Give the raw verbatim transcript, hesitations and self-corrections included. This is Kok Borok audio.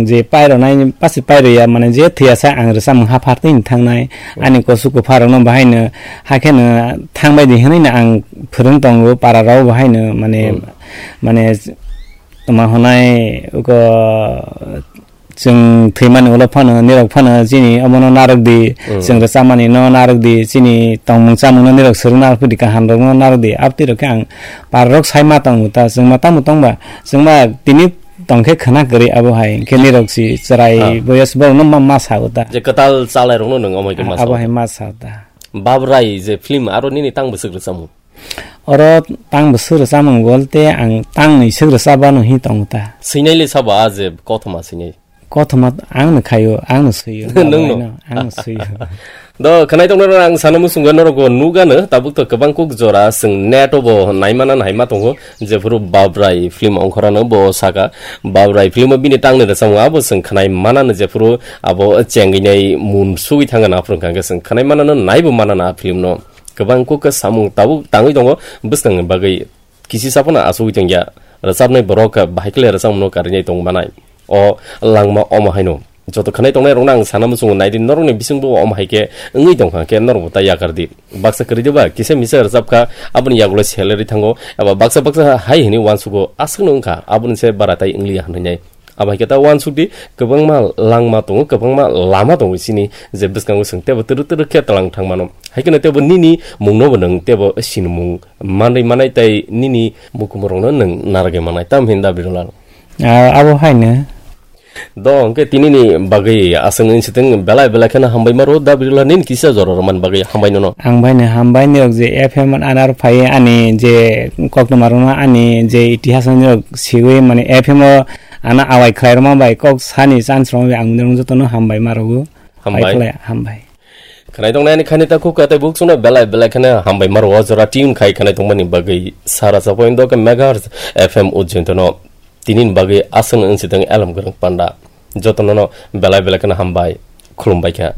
Je pairo nai, pasi pairo ya, mane je thwiya sa ang rwchapmung ha phartwi ni thangnai. Ani kosu kupharokno bahaino hakheno thangbai di hwnwi no ang phwrwng tongo para rok bahaino, mane, mane toma honai uko chwng thwimani ulo phano nirok phano chini omono narwk di, chwng rwchapmani no narwk di, chini tongmung chamung no nirok swrwng narwk di, kaham rok no narwk di, abtwi rok khe ang para rok sai ma tongo ta, chwng ma tamo tongba, chwng ma tini tongkhe khwna kwrwi abo hai, hinkhe nirok si chwrai boyos borok no ma, ma sao ta. Je kwtal chalai rok no nwng omo hai khe ma sao. Abo hai ma sao ta. Babrai je film aro nini tang bwswk rwchapmung? Oro tang bwswk rwchapmung bolte ang tang ni swk rwchapano hi tongo ta. Swinai le sabo a je kothoma swinai? Kothoma ang no khaio, ang no swio. Nwng no? Ang no swio. Do, khwnai tongnairok ang sana muchungo norok bo nugano, tabuk to kwbang kuk jora chwng net o bo naimana naima tongo, jephuru Babrai film ongkhorano bo saka, Babrai film o bini tangni rwchapmung abo chwng khwnai manano, jephuru abo chengwi nai mun sugwi thangano, aphuru hwnkha hwnkhe chwng khwnai manano, naibo manano a film no. Kwbang kuk khe samung tabuk tangwi tongo bwskangni bagwi. Kisi saphano achugwi tongya, rwchapnai borok bahai khe le rwchapmungno karinai tong manai. O langma omo haino. Joto khwnai tongnai rokno ang sana muchungo, naidi norokni bisingbo omo hai khe wngwi tongkha khe norokbo ta yakar di. Baksa kwrwi de ba kisa misa rwchapkha, aboni yagulo salary thango, eba baksa baksa hai hwnwi uansugo, aswkno wngkha, aboni se bara tai wngliya hwnwi nai. Abo hai khe ta uansuk di, kwbangma langma tongo, kwbangma lama tongo chini, je bwskango chwng tebo twrwk twrwk khe tlang thang mano. Hai kheno tebo nini mungno bo nwng tebo sinimung manwi manai tei nini mukumurokno nwng narwgwi manai. Tamo hin da Birulal? Ah, abo haino. Do, hwnkhe tinini bagwi aswk wngsi thung, belai belai kheno hambai maro da Birulal, nini kisa jora rwmani bagwi hambai nono. Ang baino hambai nirok je F M anar phai ani je koktwma rwno ani je itihas nirok siwi mane F M o ana awai khlai rwma bai kok sani chance rwma bai ang nirok jotono hambai ma rwo. Hambai. Bai khlai, hambai. Khwnai tongnai ani khani ta khuka tei buk chwngno belai belai kheno hambai ma rwo, jora tune khai khwnai tongmani bagwi sara chapoin do khe megahertz F M ujjointono. Tinini bagwi aswk wngsi thung Elem Kwrwng Panda. Jotono no belai belai kheno hambai. Khulumbai kha.